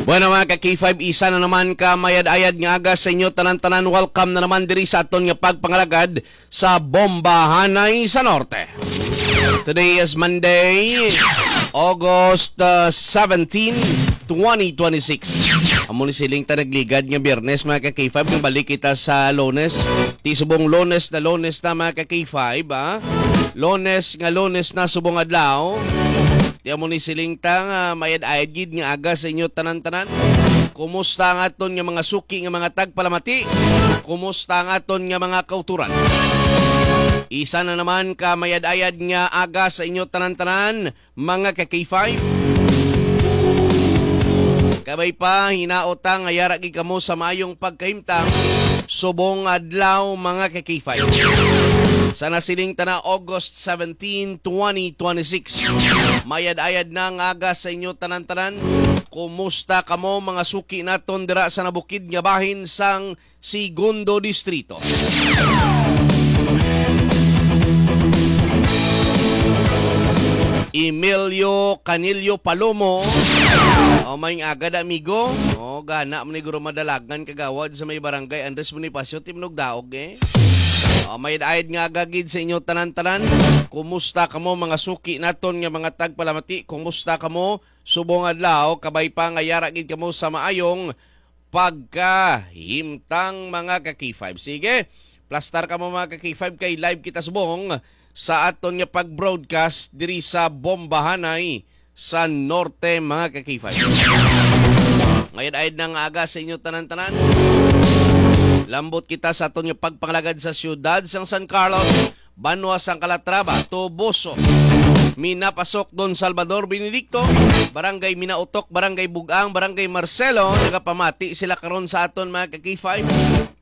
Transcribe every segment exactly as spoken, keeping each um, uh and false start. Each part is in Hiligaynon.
Bueno, mga ka-K five, isa na naman ka mayad-ayad nga aga sa inyo tanan-tanan. Welcome na naman diri sa aton nga pagpangalagad sa Bombahanay sa Norte. Today is Monday, August, uh, seventeen, twenty twenty-six. Amo ni siling ta nagligad nga Biyernes, mga ka-K five, nga balik kita sa Lunes. Ti subong Lunes na Lunes na, mga ka-K five, ha? Lunes nga Lunes na subong adlaw. Ti amo ni siling ta nga mayad-ayad gid nga aga sa inyo tanan-tanan. Kumusta ang aton nga mga suki nga mga tagpalamati? Kumusta ang aton nga mga kauturan? Isa na naman ka mayad-ayad nga aga sa inyo tanan-tanan, mga ka-K five. Kabay pa, hinaot ta nga yara gid kamo sa maayong pagkahimtang subong adlaw, mga ka-K five. Sa nasiling ta na August seventeen, twenty twenty-six. Mayad-ayad na nga aga sa inyo tanan-tanan. Kumusta kamo, mga suki naton dira sa nabukid nga bahin sang Segundo Distrito? Emilio Canillo Palomo. O, may aga da, amigo. O, gana mo ni guro madalagan kagawad sa may barangay Andres Bonifacio, Timnog Daog, eh. O, mayad-ayad nga aga gid sa inyo tanan-tanan. Kumusta kamo, mga suki naton nga mga tagpalamati? Kumusta kamo? Subong adlaw, kabay pa nga yara gid kamo sa maayong pagkahimtang, mga ka-K five. Sige, plastar kamo, mga ka-K five, kay live kita subong sa aton nga pag-broadcast diri sa Bombahanay sa Norte, mga ka-K five. Mayad-ayad na nga aga sa inyo tanan-tanan. Lambot kita sa aton nga pagpangalagad sa siyudad sang San Carlos, banwa sang Calatrava, Toboso, Minapasok, Don Salvador Benedicto, Barangay Minautok, Barangay Bugang, Barangay Marcelo. Nagapamati sila karon sa aton, mga ka-K five.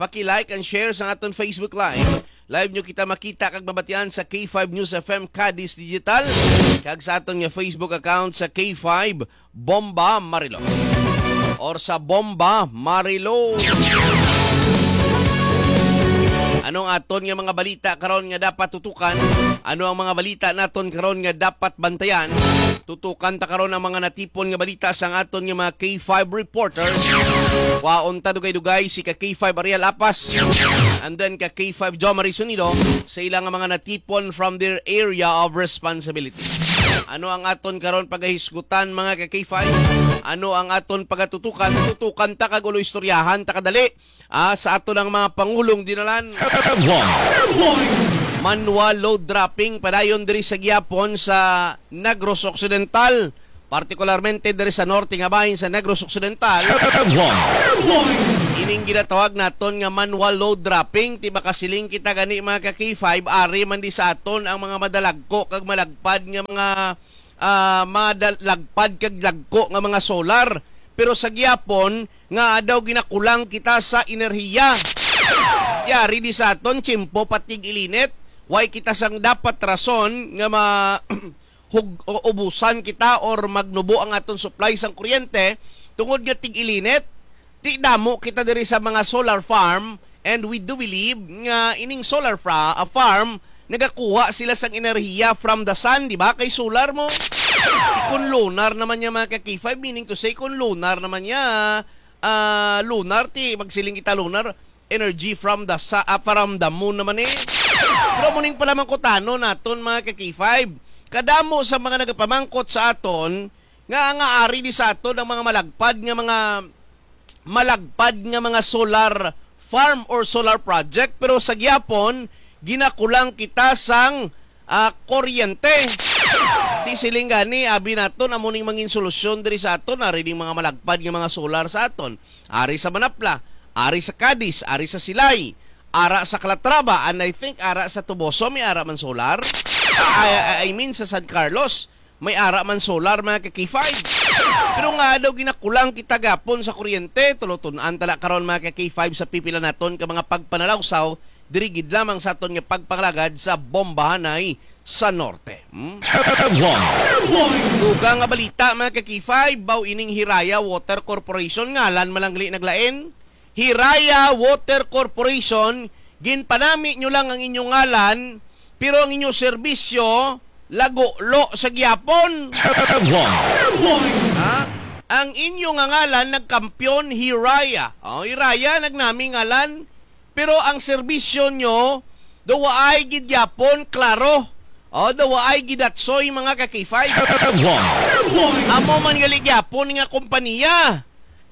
Paki-like and share sa aton Facebook Live. Live nyo kita makita kag mabatian sa K five News F M Cadiz Digital kag sa aton nga Facebook account sa K five Bomba Marilog or sa Bomba Marilog. Ano ang aton nga mga balita karon nga dapat tutukan? Ano ang mga balita naton karon nga dapat bantayan? Tutukan ta karon ang mga natipon nga balita sang aton nga mga K five reporters. Waon ta dugay-dugay si ka K five Ariel Apas and then ka K five Jo Marie Sonido sa ilang mga natipon from their area of responsibility. Ano ang aton karon pagahisgutan, mga ka K five? Ano ang aton pagatutukan? Tutukan ta kag ulo istoryahan ta kadali, ah, sa aton ang mga pangulong dinalan. Headlines. Manual load dropping padayon diri sa gihapon sa Negros Occidental, partikularmente diri sa norte nga bahin sa Negros Occidental. Headlines. Ining ginatawag naton nga manual load dropping, ti makasiling kita gani, mga ka K five, ari man di sa aton ang mga madalagko kag malagpad nga mga, ah, madalagpad kag lagko nga mga solar. Pero sa gihapon nga daw ginakulang kita sa enerhiya. Yari di sa aton, tiyempo pa tig-ilinit. Way kita sang dapat rason nga ma-, hug-, o-, ubusan kita or magnubo ang aton supply sang kuryente tungod nga tig-ilinit. Ti damo kita diri sa mga solar farm, and we do believe nga ining solar fra-, ah, farm nagakuha sila sang enerhiya from the sun, di ba? Kay solar mo. Kung lunar naman niya, mga ka K five, meaning to say, kung lunar naman niya, ah, lunar, ti magsiling kita lunar, energy from the sa-, ah, from the moon naman eh. Pero muning palamangkutano naton, mga ka K five. Kadamo sa mga nagapamangkot sa aton nga, nga ari di sa aton ang mga malagpad nga mga, malagpad nga mga solar farm or solar project, pero sa gihapon ginakulang kita sang, ah, kuryente. Di siling gani, abi naton, amo ning mangin solusyon diri sa aton, ari ning mga malagpad nga mga solar sa aton. Ari sa Manapla, ari sa Cadiz, ari sa Silay, ara sa Calatrava, and I think ara sa Toboso may ara man solar. I, I, I mean sa San Carlos, may ara man solar, mga ka K five. Pero nga daw ginakulang kita gapon sa kuryente, tulotun-an tala karon, mga ka K five, sa pipila naton ka mga pagpanalawsaw diri gid lamang sa aton nga pagpangalagad sa Bombahanay sa Norte. Hmm? Headlines. Dugang nga balita, mga ka K five, baw ining Hiraya Water Corporation, ngalan man lang gali naglain. Hiraya Water Corporation, ginpanami nyo lang ang inyong ngalan, pero ang inyong serbisyo, lagulo sa gihapon. Headlines. Ha? Ang inyo nga ngalan nagkampiyon, Hiraya. Oh, Hiraya, nagnami ngalan. Pero ang serbisyo nyo, daw waay gid gyapon klaro. Oh, daw waay gidatsoy, mga ka-K five. Amo man gali gyapon nga kompanya.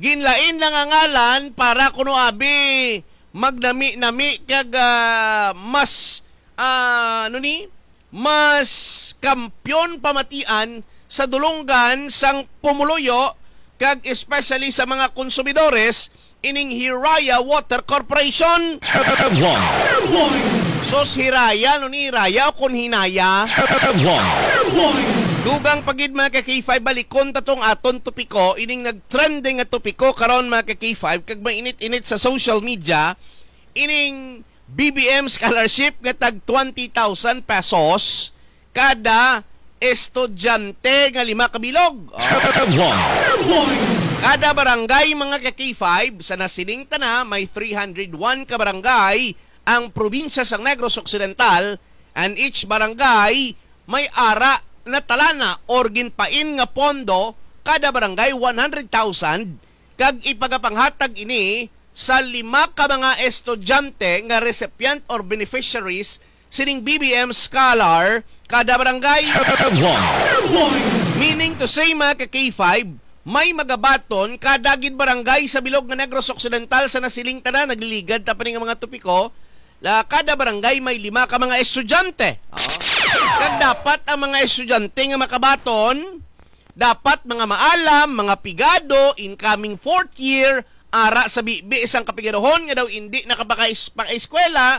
Ginlain lang ang ngalan para kuno abi magnami-nami kag, ah, mas, ah, ano ni? Mas kampiyon pamatian sa dulonggan sang pumuluyo kag especially sa mga konsumidores ining Hiraya Water Corporation. Headlines. Sos Hiraya, no ni Hiraya o kon Hinaya? Headlines. Dugang pa gid, mga ka-K five, balikon ta tong aton topiko, ining nag-trending nga topiko karon, mga ka-K five, kag mainit-init sa social media, ining B B M scholarship nga tag twenty thousand pesos kada estudyante nga lima ka bilog. Oh. Kada barangay, mga ka-K five, sa nasiling ta na, may three hundred one ka barangay ang probinsya sang Negros Occidental, and each barangay may ara na talana or ginpain nga pondo, kada barangay one hundred thousand, kag ipagapanghatag ini sa lima ka mga estudyante nga recipient or beneficiaries sining B B M Scholar kada barangay. Headlines. Meaning to say, mga ka-K five, may magabaton kada gid barangay sa bilog nga Negros Occidental. Sa nasiling ta na, nagliligad ta pa ni nga mga topiko, la, kada barangay may lima ka mga estudyante. Oh. Kag dapat ang mga estudyante nga makabaton, dapat mga maalam, mga pigado, incoming fourth year, ara sa bibi sang kapigaduhon nga daw indi nakapaka-, pakaeskwela.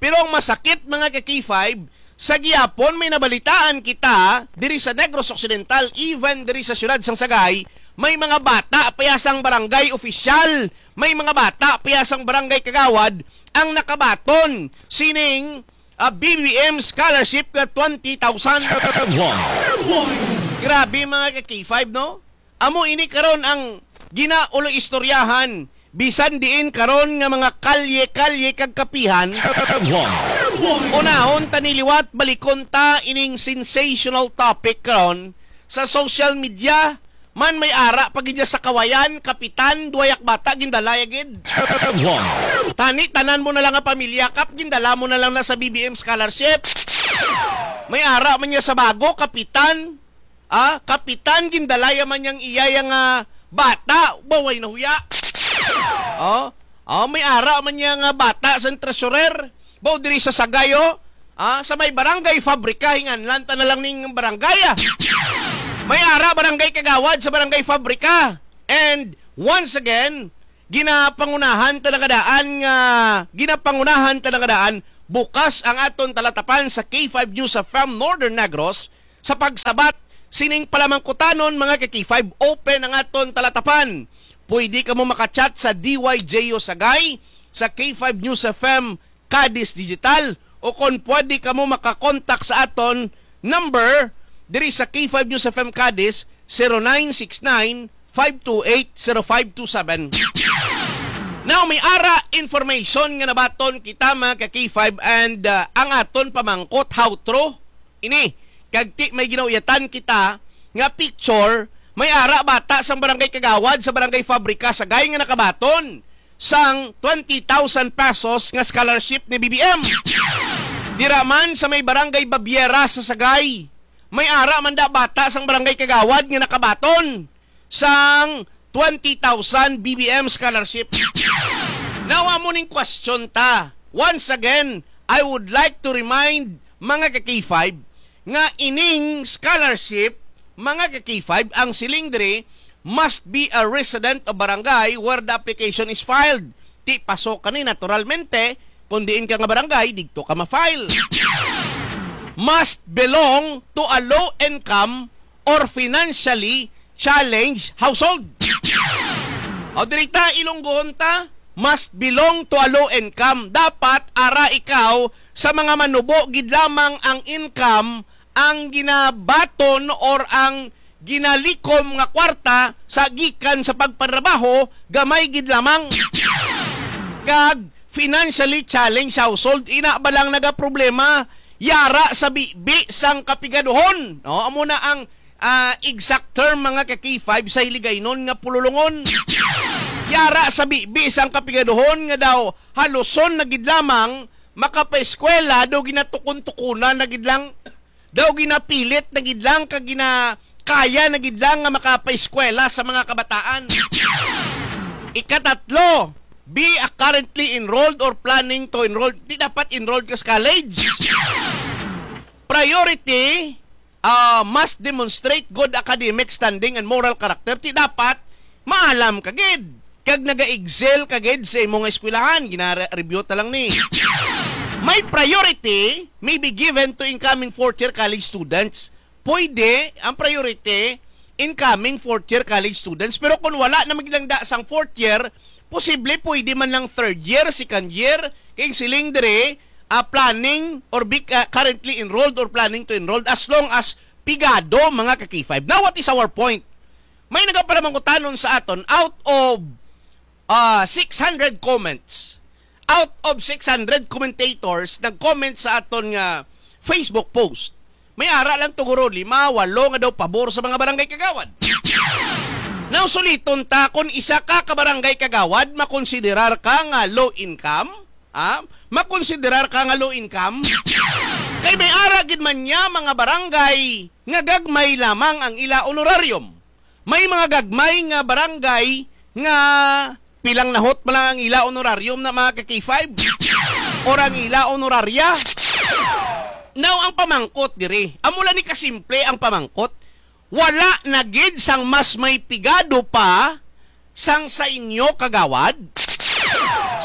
Pero ang masakit, mga ka-K five, sa gihapon may nabalitaan kita diri sa Negros Occidental, even diri sa siyudad sang Sagay, may mga bata pa ya sang barangay opisyal, may mga bata pa ya sang barangay kagawad ang nakabaton sining, ah, B B M scholarship nga twenty thousand. Headlines. Grabe, mga ka-K five, no? Amo ini karon ang ginaulo istoryahan, bisan diin karon nga mga kalye-kalye kag kapihan. Headlines. Unahon ta ni liwat, balikon ta ining sensational topic karon sa social media. Man, may ara pa gid sa Kawayan, kapitan, duwa ya ka bata, gindala ya gid. Headlines. Tani, tanan mo na lang nga pamilya, kap, gindala mo na lang na sa B B M scholarship. May ara man niya sa Bago, kapitan. Ah, kapitan, gindala ya man yang iya ya nga bata, baway na huya. Oh, oh, may ara man niya nga bata sa treasurer. Baw diri sa Sagay, oh. Ah, sa may barangay Fabrika, hinganlan ta na lang ning barangay, ah. May ara barangay kagawad sa barangay Fabrika. And once again, ginapangunahan ta na nga daan nga, ginapangunahan ta na nga daan, bukas ang aton talatapan sa K five News F M Northern Negros sa pagsabat sining palamangkutanon, mga ka-K five. Open ang aton talatapan. Pwede kamo makachat sa D Y J O Sagay, sa K five News F M Cadiz Digital, o kon pwede kamo makakontak sa aton number diri sa K five News F M Cadiz, zero nine six nine, five two eight, zero five two seven. Now, may ara information nga nabaton kita, mga ka-K five, and, uh, ang aton pamangkot, how true ini? Kag ti may ginauyatan kita nga picture, may ara bata sang barangay kagawad sa barangay Fabrika Sagay nga nakabaton sang twenty thousand pesos nga scholarship ni B B M. Dira man sa may barangay Babiera sa Sagay, may ara man da bata sang barangay kagawad nga nakabaton sang twenty thousand B B M scholarship. Now, amo ning question ta. Once again, I would like to remind, mga ka-K five, nga ining scholarship, mga ka-K five, ang siling diri must be a resident of barangay where the application is filed. Ti pasok kani, naturalmente, kung diin ka nga barangay, didto ka ma-file. Must belong to a low income or financially challenged household. O, diri ta, Ilonggohon ta, must belong to a low income. Dapat ara ikaw sa mga manubo gid lamang ang income, ang ginabaton or ang ginalikom nga kwarta sa gikan sa pagpanrabaho, gamay gid lamang. Kag financially challenged household, ina ba lang nagaproblema, yara sa bibi sang kapigaduhon. No, amo na ang ah, exact term, mga ka-K five, sa Hiligaynon nga pululongon. Yara sa bibi sang kapigaduhon nga daw haluson na gid lamang makapaeskwela, daw ginatukon-tukunan na gid lang, daw ginapilit na gid lang, kag ginakaya na gid lang nga makapaeskwela sa mga kabataan. Ikatatlo, be a currently enrolled or planning to enroll. Di dapat enrolled ka sa college. Priority, ah, must demonstrate good academic standing and moral character. Ti dapat maalam ka gid kag naga-excel ka gid sa imo nga eskwelahan. Gina-review ta lang ni. My priority may be given to incoming fourth year college students. Pwede ang priority incoming fourth year college students, pero kung wala na magdangda sang fourth year, posible pwede man lang third year, second year, kay siling diri, ah, planning or be, ah, currently enrolled or planning to enrolled, as long as pigado, mga ka-K five. Now, what is our point? May nagaparamangkutanon sa aton, out of, ah, six hundred comments, out of six hundred commentators nag-comment sa aton nga Facebook post, may ara lang tuguro lima, walo nga daw pabor sa mga barangay kagawad. Now, suliton ta, kung isa ka ka barangay kagawad, makonsiderar ka nga low income, ha? Makonsiderar ka nga low income? Kay may ara gid man niya mga barangay nga gagmay lamang ang ila honorarium. May mga gagmay nga barangay nga pilang nahot pa lang ang ila honorarium na, mga ka-K five, or ang ila honoraria. Now, ang pamangkot diri, amo lang ni kasimple ang pamangkot, wala na gid sang mas may pigado pa sang sa inyo, kagawad?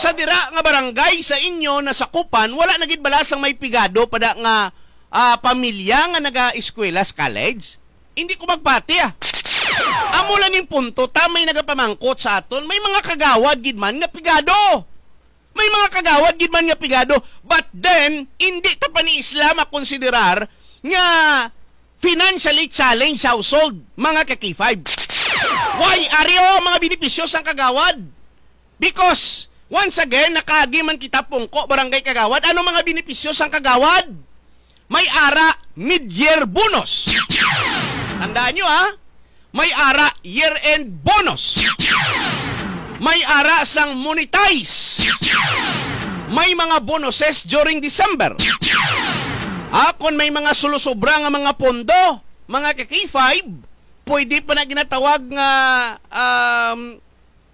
Sa dira nga barangay sa inyo nasakupan, wala na gid bala sang may pigado pa da nga, ah, pamilya nga nagaeskwela sa college? Hindi ko magpati, ah. Amo lang ning punto, ta may nagapamangkot sa aton, may mga kagawad gid man nga pigado. May mga kagawad gid man nga pigado, but then, hindi ta pa ni isla makonsiderar nga financially challenged household, mga ka-K five. Why? Ari, oh, mga benepisyo sang kagawad. Because, once again, nakaagi man kita pungko, barangay kagawad. Ano mga benepisyo sang kagawad? May ara mid-year bonus. Tandaan nyo, ha? May ara year-end bonus. May ara sang monetize. May mga bonuses during December. Ah, kung may mga sulusobra nga mga pondo, mga ka-K five, pwede pa na ginatawag nga, um,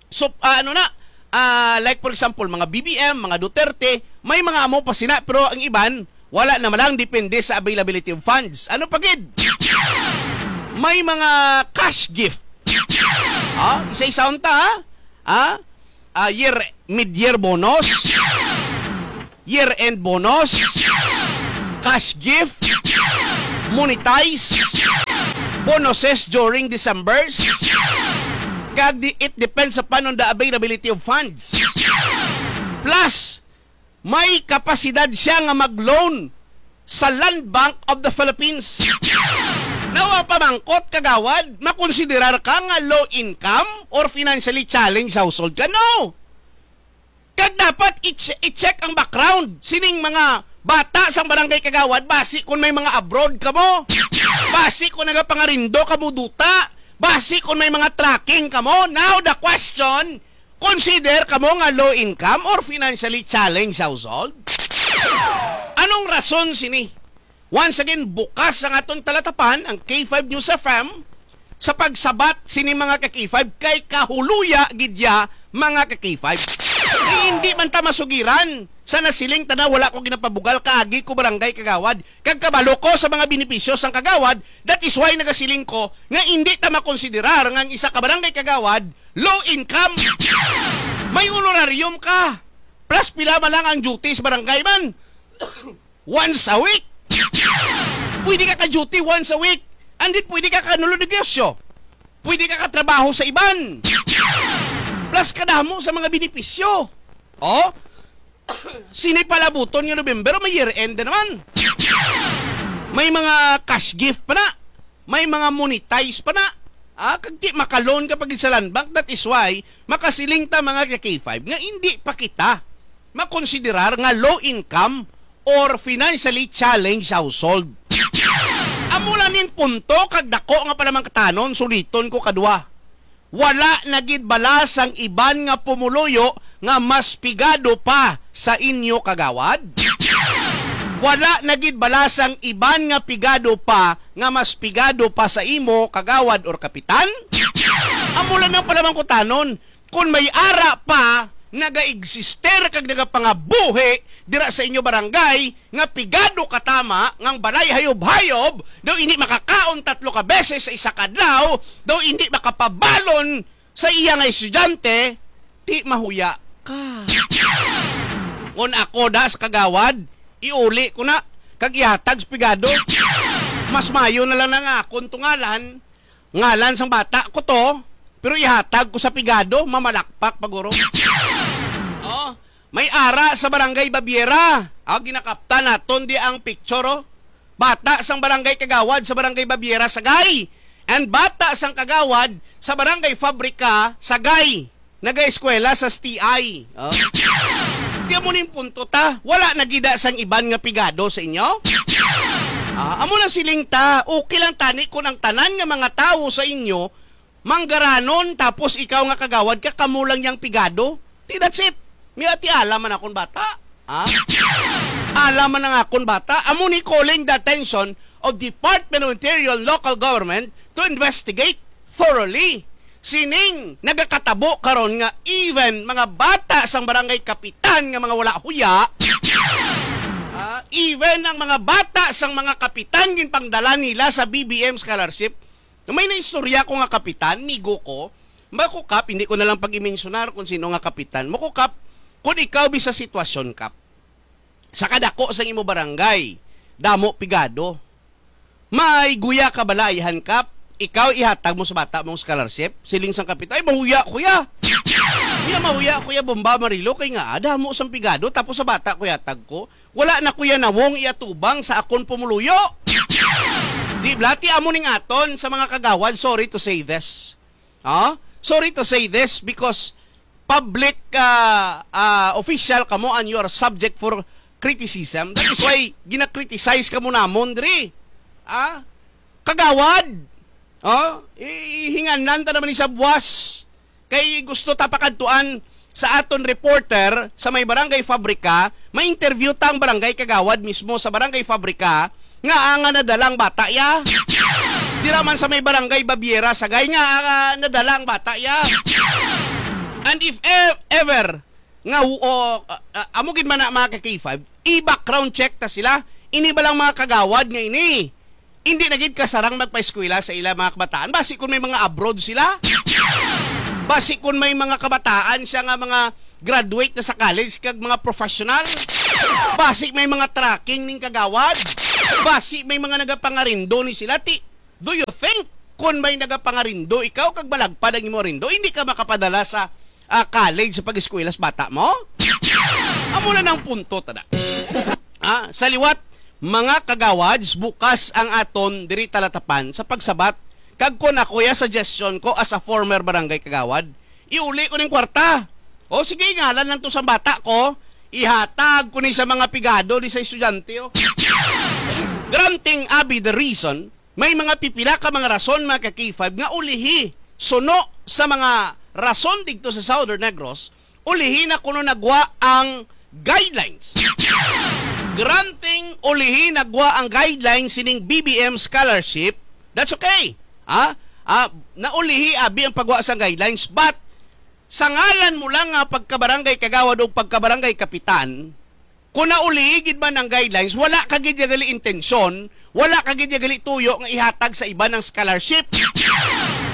so, ah, ano na, ah, like, for example, mga B B M, mga Duterte, may mga amo pa sina, pero ang iban, wala na malang, depende sa availability of funds. Ano pa gid? May mga cash gift. Ah, isa-isa unta, ha? Ah, ah, year, mid-year bonus, year-end bonus, cash gift, monetize, bonuses during Decembers. Kag di, it depends upon on the availability of funds. Plus, may kapasidad siya nga mag-loan sa Land Bank of the Philippines. Now, ang pamangkot, kagawad, makonsiderar ka nga low income or financially challenged household ka? No! Kag dapat i-che-, i-check ang background sining mga bata sang barangay, kagawad, basi kung may mga abroad kamo, basi kung nagapangarindo kamo duta, basi kung may mga tracking kamo. Now, the question, consider kamo nga low income or financially challenged household? Anong rason sini? Once again, bukas ang aton talatapan, ang K five News F M, sa pagsabat sini, mga ka-K five, kay kahuluya gid ya, mga ka-K five. Kay hindi man ta masugiran sa nasiling ta na, wala ko ginapabugal, kaagi ko barangay kagawad, kag kabalo ko sa mga benepisyo sang kagawad. That is why nagasiling ko nga hindi ta makonsiderar nga ang isa ka barangay kagawad low income. May honorarium ka. Plus, pila man lang ang duty sa barangay man? Once a week. Pwede ka ka-duty once a week. And then, pwede ka kanulod negosyo. Pwede ka katrabaho sa iban. Plus, kadamo sa mga benepisyo. Oh? Sini palabuton nga November, may year-end na naman. May mga cash gift pa na. May mga monetize pa na. Ah, kag di maka-loan ka pa gid sa Land Bank. That is why makasiling ta, mga ka-K five, nga hindi pa kita makonsiderar nga low income or financially challenged household. Amo lang ning punto kag dako nga palamangkatanon, suliton ko kadwa. Wala na gid bala sang iban nga pumuluyo nga mas pigado pa sa inyo, kagawad? Wala na gid bala sang iban nga pigado pa nga mas pigado pa sa imo, kagawad or kapitan? Amo lang nang palamangkutanon, kon may ara pa nagaeksister kag nagapangabuhi dira sa inyo barangay nga pigado katama ngang balay hayob-hayob, daw hindi makakaon tatlo ka beses sa isa ka adlaw, daw hindi makapabalon sa iya nga estudyante, ti mahuya ka. Ngon ako da sa kagawad, iuli ko na, kag ihatag sa pigado. Mas mayo na lang na nga akon to ngalan, ngalan sang bata ko to, pero ihatag ko sa pigado, mamalakpak pa guro. Oh, may ara sa Barangay Babiera. Ah, ginakaptan naton di ang picture, oh. Bata sang barangay kagawad sa Barangay Babiera, Sagay. And bata sang kagawad sa Barangay Fabrica, Sagay. Nagaeskwela sa S T I. Oh. Di amo ning punto ta. Wala na gid sang iban nga pigado sa inyo? Ah, amo na siling ta, okay lang tani kung ang tanan nga mga tawo sa inyo manggaranon, tapos ikaw nga kagawad ka, kamo lang yang pigado. Ti, that's it. May ati, ala man akon bata. Ha? Ala man ang akon bata. Amo ni calling the attention of Department of Interior and Local Government to investigate thoroughly sining nagakatabo karon nga even mga bata sang barangay kapitan nga mga wala huya, ah, even ang mga bata sang mga kapitan ginpangdala nila sa B B M scholarship. May naistorya ko nga kapitan, migo ko, makukap, hindi ko na lang pag-imensionar kung sino nga kapitan. Makukap, kung ikaw bi sa sitwasyon, Kap, sa kadako sang imo barangay, damo pigado. May guya ka bala, ayhan, Kap? Ikaw ihatag mo sa bata mong scholarship? Siling sang kapitan, "Ay, mahuya, kuya." "Kuya, mahuya, kuya, bomba, marilo, kay nga, ah, damo sang pigado, tapos sa bata ko ihatag ko. Wala na, kuya, nawong iatubang sa akon pumuluyo." Di bala, ti amo ning aton sa mga kagawad, sorry to say this. Ah? Sorry to say this because public, ah, ah, official kamo and you are subject for criticism. That is why gina-criticize kamo namon diri. Ah? Kagawad. Oh, i-, ihinganan ta naman ni sa buwas. Kay gusto ta pakadtuan sa aton reporter sa may Barangay Fabrica, ma-interview ta ang barangay kagawad mismo sa Barangay Fabrica nga, ah, nga nadala ang bata ya. Dira man sa may Barangay Babiera, Sagay, nga, ah, nadala ang bata ya. And if ev-, ever nga, o, ah, ah, amo gid man na, mga ka-K five, i-background check ta sila. Ini ba lang mga kagawad nga ini? Hindi na gid kasarang magpaeskwela sa ila mga kabataan. Basi kung may mga abroad sila. Basi kung may mga kabataan siya nga mga graduate na sa college kag mga professional. Basi may mga trucking ning kagawad. Basi may mga nagapangarindo ni sila. Ti, do you think kung may nagapangarindo ikaw kag malagpad ang imo arindo, hindi ka makapadala sa, ah, college sa pag-eskwela sa bata mo? Amo na nang punto, tada. Ah, sa liwat, mga kagawads, bukas ang aton diri talatapan sa pagsabat. Kag kun ako ya, suggestion ko as a former barangay kagawad, iuli ko ning kwarta. O sige, ngalan lang to sa bata ko, ihatag ko ni sa mga pigado ni sa estudyante, oh. Granting abi the reason, may mga pipila ka mga rason, mga ka-K five, nga ulihi suno sa mga rason didto sa Southern Negros, ulihi na kuno nagwa ang guidelines. Granting ulihi nagwa ang guidelines sining B B M scholarship, that's okay. Ha? Ah, naulihi abi ang pagwa sa guidelines, but sa ngalan mo lang nga pagkabarangay kagawad o pagkabarangay kapitan, kung naulihi gid man ang guidelines, wala ka gid ya gali intensyon, wala ka gid ya gali tuyo nga ihatag sa iban ang scholarship.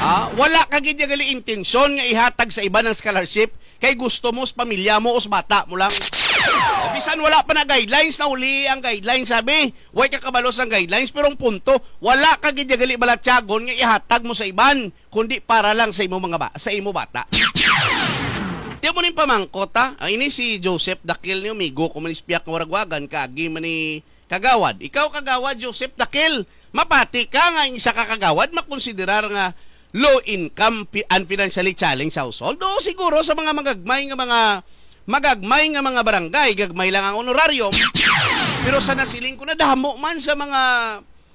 Ha? Wala ka gid ya gali intensyon nga ihatag sa iban ang scholarship kay gusto mo sa pamilya mo o sa bata mo lang. O, bisan wala pa na guidelines, naulihi ang guidelines, sabi, way ka kabalo sa guidelines, pero ang punto, wala ka gid ya gali balatyagon nga ihatag mo sa iban, kundi para lang sa imo mga ba-, sa imo bata. Di mo ning pamangkot, ha? Ah, ini si Joseph Dakil, ni amigo ko man, ispiak nga waragwagan, kaagi man ni kagawad. Ikaw, kagawad Joseph Dakil, mapati ka nga ang isa ka kagawad makonsiderar nga low income pi-, and financially challenged household? Oo, siguro sa mga magagmay nga mga, magagmay nga mga barangay, gagmay lang ang honorarium. Pero sa nasiling ko, nadamo man sa mga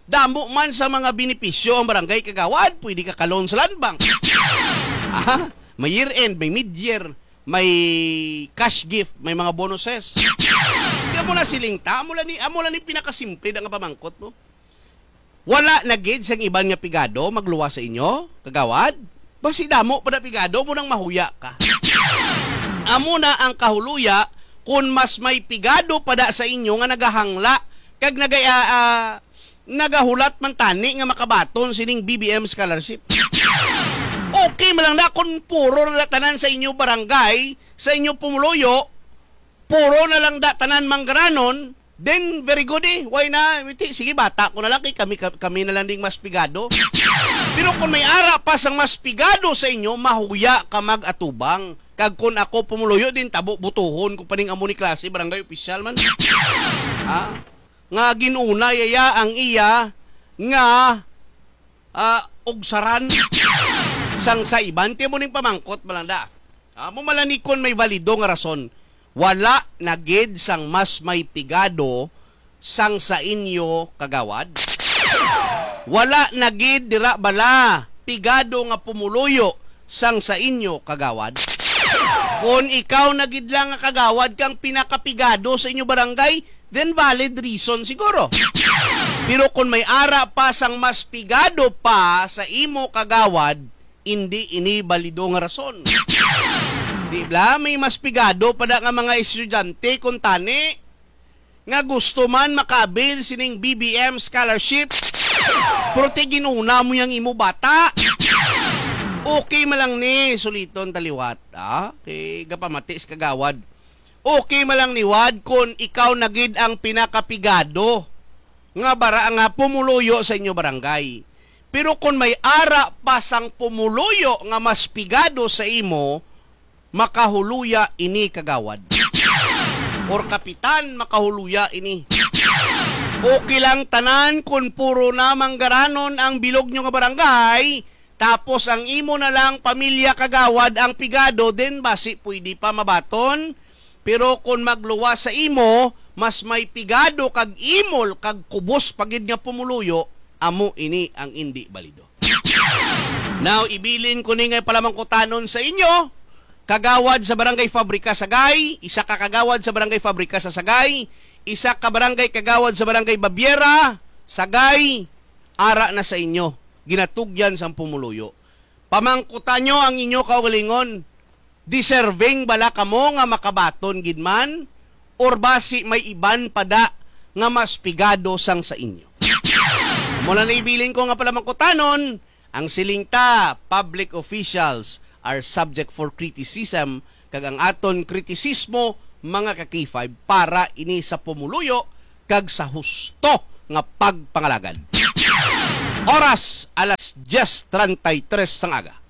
Damo man sa mga benepisyo ang barangay, kagawad. Pwede ka ka-loan sa Land Bank. Ah, may year-end, may mid-year, may cash gift, may mga bonuses. Kaya mo na siling ta, amo lang ni, amo lang ni pinakasimple na nga pamangkot mo. Wala na gid sang iban nga pigado magluwas sa inyo, kagawad? Basi damo pa na pigado mo nang mahuya ka. Amo na ang kahuluya, kun mas may pigado pa da sa inyo nga nagahangla kag nagay-, ah, ah, nagahulat man tani nga makabaton sining B B M scholarship. Okay man lang na kun puro na tanan sa inyo barangay, sa inyo pumuluyo, puro na lang da tanan manggaranon, then very good eh. Why na? Witi, sige, bata ko na lang kay kami, ka-, kami na lang ding mas pigado. Pero kung may ara pa sang mas pigado sa inyo, mahuya ka mag-atubang. Kag kung ako pumuluyo din, tabo butuhon ko pa ning amo ni klase, barangay official man. Ha? Nga ginuna yaya ang iya nga, ah, ugsaran sang sa iban. Ti mo ning pamangkot, Malanda. Amo malanikon may valido nga rason. Wala na gid sang mas may pigado sang sa inyo, kagawad? Wala na gid dira bala pigado nga pumuluyo sang sa inyo, kagawad? Kon ikaw na gid lang nga kagawad kang pinakapigado sa inyo barangay, then valid reason siguro. Pero kon may ara pa sang mas pigado pa sa imo, kagawad, indi ini balido nga rason. Di bala, may mas pigado pa na nga mga estudyante kuntani nga gusto man makabil sining B B M scholarship, pero ti ginuna mo yang imo bata. Okay man lang ni suliton taliwat, ah, kay gapamati sa kagawad. Okay man lang ni Wad kon ikaw na gid ang pinakapigado nga bara nga pumuluyo sa inyo barangay. Pero kon may ara pa sang pumuluyo nga mas pigado sa imo, makahuluya ini, kagawad. Or kapitan, makahuluya ini. Okay lang tanan kon puro na manggaranon ang bilog nyo nga barangay, tapos ang imo na lang pamilya, kagawad, ang pigado, then basi pwede pa mabaton. Pero kon magluwas sa imo, mas may pigado kag imol kag kubos pa gid nga pumuluyo, amo ini ang indi balido. Now, ibilin ko ni nga palamangkutanon sa inyo, kagawad sa Barangay Fabrica, Sagay, isa ka kagawad sa Barangay Fabrica sa Sagay, isa ka barangay kagawad sa Barangay Babiera, Sagay, ara na sa inyo, ginatugyan sang pumuluyo. Pamangkutan nyo ang inyo kaugalingon, deserving bala kamo nga makabaton gid man, or basi may iban pa da nga mas pigado sang sa inyo? Muna na ibilin ko nga palamangkutanon, ang siling ta, public officials are subject for criticism, kag ang aton kritisismo, mga ka-K five, para ini sa pumuluyo kag sa husto nga pagpangalagad. Oras, alas diyes treinta y tres sang aga.